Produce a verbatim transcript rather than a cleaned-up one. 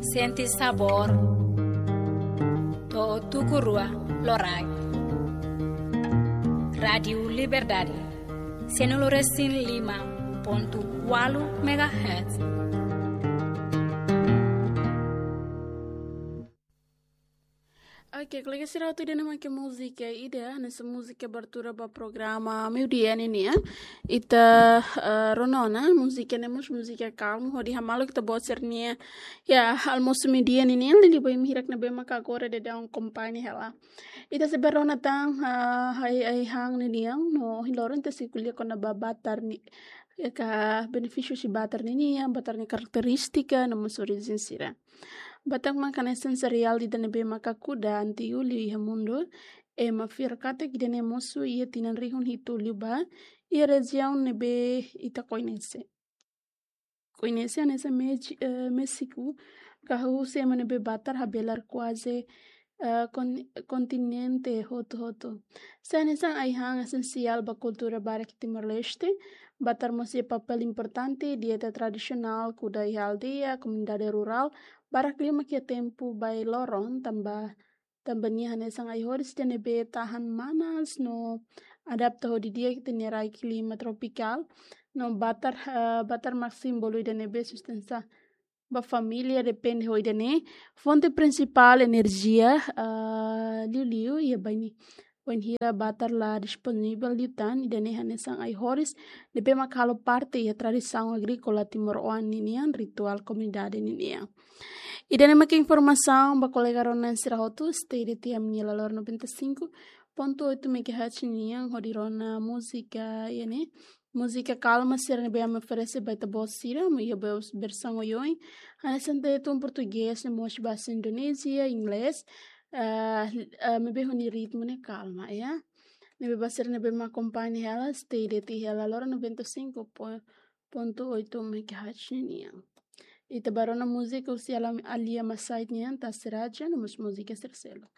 Sente sabór. To'o tuku rua loraik. Rádiu Liberdade, sianulu resin lima pontu ualu megahertz. Oke, kolega sira, atu ida-ne'e mak múzika ida, hanesan múzika abertura ba programa meiudia ninian. Ita, eh, rona ona múzika ne'e mós múzika kalmu, hodi hamaluk ita-boot sira-nia, ya, almosu meiudia ninian, liuliu ba imi hirak ne'ebé maka agora daudaun akompaña hela. Ita sei bá rona tan, eh, ai, ai-han ninian, no ohin loron ita sei ko'alia kona-ba batar ne'e, ya ka benefísiu husi batar ninian, batar nia karakterístika, no mós orijen sira. Batar mak hanesan sereál ida ne'ebé maka kuda antigu liu iha mundu, ema fiar katak ida-ne'e mosu iha tinan rihun hitu liubá, iha rejiaun ne'ebé ita koñese. Koñese hanesan Mex-, eh, Méxiku, ka husi ema ne'ebé batar habelar kuaze, eh, kon-, kontinente hotu-hotu. Sei hanesan ai-han esensiál ba kultura barak Timor-Leste, batar mós iha papél importante, dieta tradisionál, kuda iha aldeia, komunidade rurál, barak liu mak iha tempu ba ai-loron, tanba, tanba nia hanesan ai-horis ida ne'ebé tahan manas no adapta ho di'ak iha ita-nia rai klima tropikál, no batar, eh, batar mak símbolu ida ne'ebé sustenta ba família depende ho ida-ne'e fonte prinsipál enerjia, ah, liuliu iha bainhira, bainhira batar la disponivel liután, ida-ne'e hanesan ai-horis ne'ebé mak halo parte iha tradisaun agríkola timoroan ninian, rituál komunidade ninian. Ida-ne'e mak informasaun ba kolega rona sira hotu, stay iha ita-nia Laloran noventa e cinco ponto oito megahertz nian, hodi rona múzika, ya ne'e, múzika kalma sira ne'ebé ami oferese ba ita-boot sira, ami iha be-, versaun oioin. Hanesan tetun portugés, no mós bahasa Indonézia, inglés, eh, eh, maibé ho nia ritmu ne'e kalma, ya. Ne'ebé ba sira ne'ebé mak akompaña hela, stay iha ita-nia Laloran noventa e cinco ponto oito megahertz nian. Ita bá rona múzika husi Alia Masait nian, Tasi Raja, no mós múzika sira seluk.